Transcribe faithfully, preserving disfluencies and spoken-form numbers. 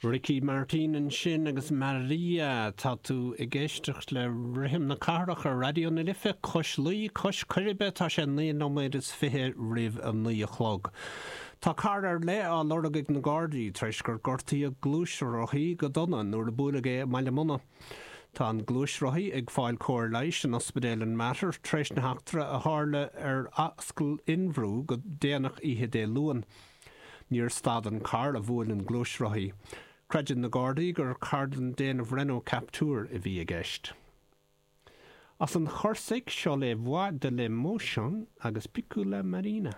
Ricky Martin ansin agus Maria tá tú ag éisteacht le rithim na cathrach ar Raidió na Life cois Laoi cois Coiribe tá sé naoi nóiméad is fiche roimh a naoi a chlog. Tá carr ar leith á lorg ag na Gardaí tar éis gur gortaíodh gluaisrothaí go dona nuair a buaileadh é i mBaile Munna. Tá an gluaisrothaí ag fáil cóir leighis in ospidéal an Mater tar éis na heachtra a tharla ar Ascaill Fhionn Bhrú go déanach oíche Dé Luain. Níor stad an carr a bhuail an gluaisrothaí. Creideann na Gardaí gur carr den déanamh Renault Captur a bhí i gceist. As an Chorsaic seo Les Voix de l'Émotion agus Piccola Marina.